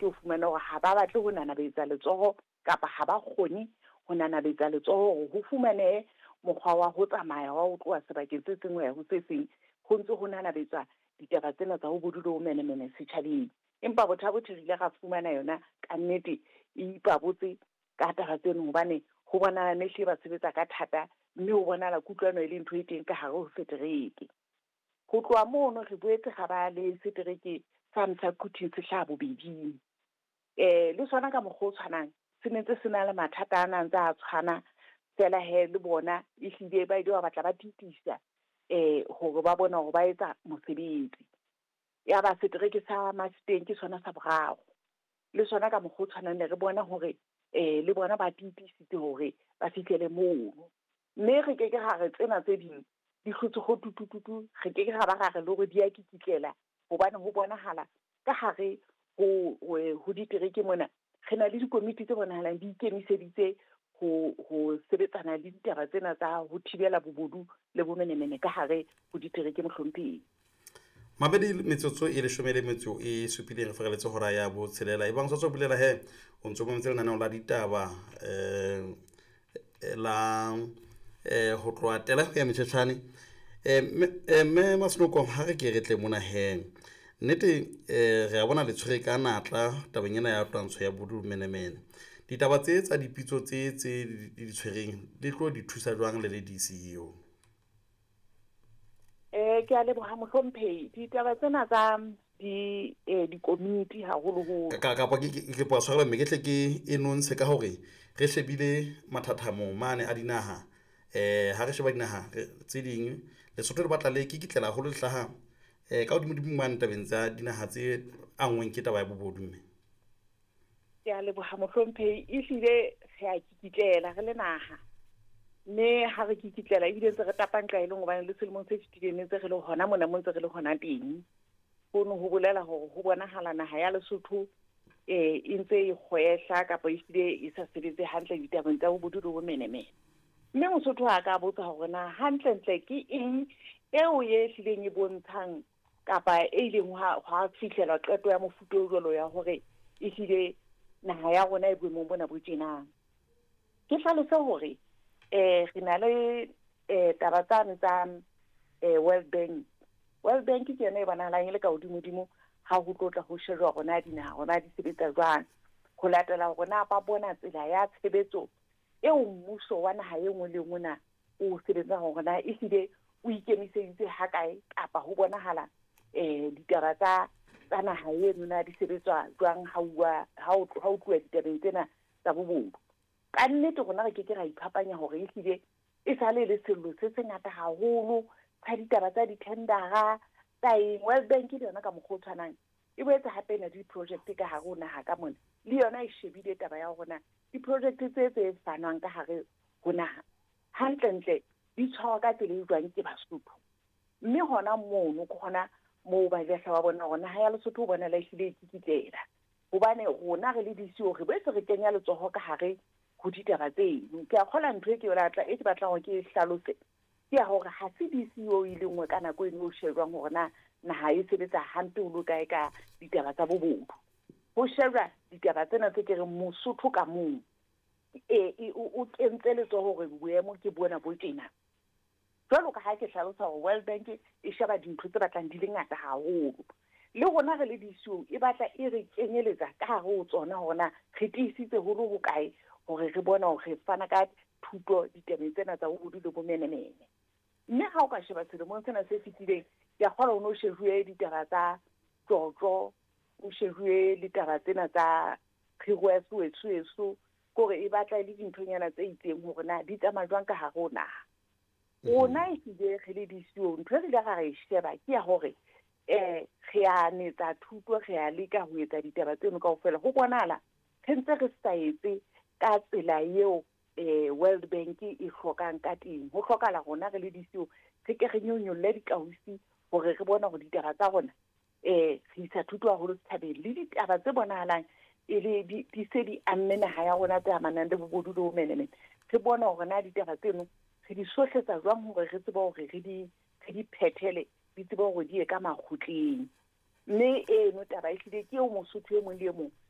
setereke o fumane hore ha ba batle ho nanabetsa letsoho kapa ha ba kgone ho nanabetsa letsoho hore ho fumanehe mokgwa wa ho tsamaya wa ho tloha sebakeng se seng ho ya ho se seng, ho ntse ho nanabetswa ditaba tsena tsa bobodu le bomenemene setjhabeng. Empa Botha-Bothe re ile ra fumana yona kannete e ipabotse ka taba tseno, hobane ho bonahala ne hlile ba sebetsa ka thata, mme ho bonahala kutlwano e le ntho e teng ka hare ho setereke. Ho tloha mono re boetse ra ba le setereke sane sa Quthing se hlaha bobeding. Le sona ka mokgwa o tshwanang se ne ntse se na le mathata ana a ntse a tshwana feela he le bona ehlile ba ile ba batla ba titisa hore ba bona hore ba etsa mosebetsi. Ya ba setereke sa Mafeteng ke sona sa boraro. Le sona ka mokgwa o tshwanang ne re bona hore le bona ba titisitse hore ba fihlele mono. Mme re ke ke ra re tsena tse ding di hlotse ho tutututu, re ke ke ra ba ra re le hore di a kikitlela, hobane ho bonahala ka hare ho ditereke mona re na le dikomiti tse bonahalang di ikemiseditse ho sebetsana le ditaba tsena tsa ho thibela bobodu le bomenemene ka hare ho ditereke, mohlomphehi. Mabedi metsotso e leshome le metso e supileng re fereletse hora ya botshelela. E bang sa tswa bulela he o ntso mametse lenaneo la ditaba la ho tloha tela ho ya metjhetjhane. Mme Masenoko, ha re ke re tle mona he nnete, re a bona le tshwere ka natla tabeng ena ya twantsho ya bodumenemene. Ditaba tse tsa dipitso tse di tshwereng di tlo di thusa jwang le le DCEO? Ke a leboha mohlomphehi. Ditaba tsena tsa di dikomiti haholoholo. Kapa ke kopa tshwarelo mme ke tle ke e nontshe ka hore re shebile mathathamo mane a dinaha. Ha re sheba dinaha tse ding, Lesotho le batla le kikitlela haholo le hlaha ka hodimo-dimo mane tabeng tsa dinaha tse anngweng ke taba ya bobodu mme. Ke a leboha mohlomphehi. Ehlile re a kikitlela re le naha. Mme ha re kikitlela ebile ntse re tapa nqa e leng hobane le selemong se fetileng ne ntse re le hona mona mo ntse re le hona teng. Hono ho bolela hore ho bonahala naha ya Lesotho e ntse e kgwehla kapa ehlile e sa sebetse hantle ditabeng tsa bobodu le bomenemene. Mme Mosotho a ka botsa hore na hantlentle ke eng eo e hlileng e bontshang kapa e ileng hwa fihlelwa qeto ya mofuta o jwalo ya hore ehlile naha ya rona e boemong bona bo tjenang. Ke hlalose hore re na le taba tsane tsa World Bank. World Bank ke yona e bonahalang e le ka hodimodimo ha ho tlo tla ho shejwa hore na dinaha hore na di sebetsa jwang. Ho latela hore na ba bona tsela ya tshebetso eo mmuso wa naha e nngwe le nngwe na o sebetsang hore na ehlile o ikemiseditse hakae kapa ho bonahala ditaba tsa naha eno na di sebetswa jwang ha ho tluwa ditabeng tsena tsa bobodu. Ka nnete rona re ke ke ra iphapanya hore ehlile e sale le sello se sengata haholo sa ditaba tsa di-tendera tsa eng. World Bank le yona ka mokgwa o tshwanang e boetse hape e na le di-project ka hare ho naha ka mona, le yona e shebile taba ya hore na di-project tse fanwang ka hare ho naha hantlentle di tshwarwa ka tsela e jwang ke Basotho. Mme hona mono ke hona moo ba ile ba bona hore naha ya Lesotho ho bona la ehlile e kikitlela, hobane rona re le DCEO re boetse re kenya letsoho ka hare ho ditaba tseno. Ke a kgola ntho e ke batla e ke batlang hore ke e hlalose ke ya hore ha se DCEO e le nngwe ka nako eno o shejwang hore na naha e sebetsa hampe ho le kae ka ditaba tsa bobodu. Ho shejwa ditaba tsena tse ke reng Mosotho ka mong o kentse letsoho hore boemo ke bona bo tjena. Jwalo ka ha ke hlalosa hore World Bank e sheba dintho tse batlang di le ngata haholo. Le rona re le DCEO e batla e re kenyeletsa ka hare ho tsona hore na re tiisitse ho le hokae hore re bona hore re fana ka thuto ditabeng tsena tsa bobodu le bomenemene. Mme ha o ka sheba selemong sena se fetileng, ke a kgolwa ho no shejuwe ditaba tsa tjotjo, o shejuwe le taba tsena tsa kgiro ya Soweto, kore e batla e le dinthonyana tse itseng hore na di tsamaya jwang ka hare ho naha. Rona ehlile re le DCEO ntho e re ile ra re sheba ke ya hore re a netsa thuto, re a leka ho etsa ditaba tseno kaofela. Ho bonahala re ntse re sa etse ka tsela eo World Bank e hlokang ka teng. Ho hlokahala rona re le DCEO re ke re nyonyolle dikausi hore re bone hore ditaba tsa rona re isa thuto haholo setjhabeng le ditaba tse bonahalang e le di se di amme naha ya rona tse amanang le bobodu le bomenemene. Re bone hore na ditaba tseno re di sohletsa jwang hore re tsebe hore re di phethele, di tsebe hore di ye ka makgotleng. Mme eno taba ehlile ke eo Mosotho e mong le e mong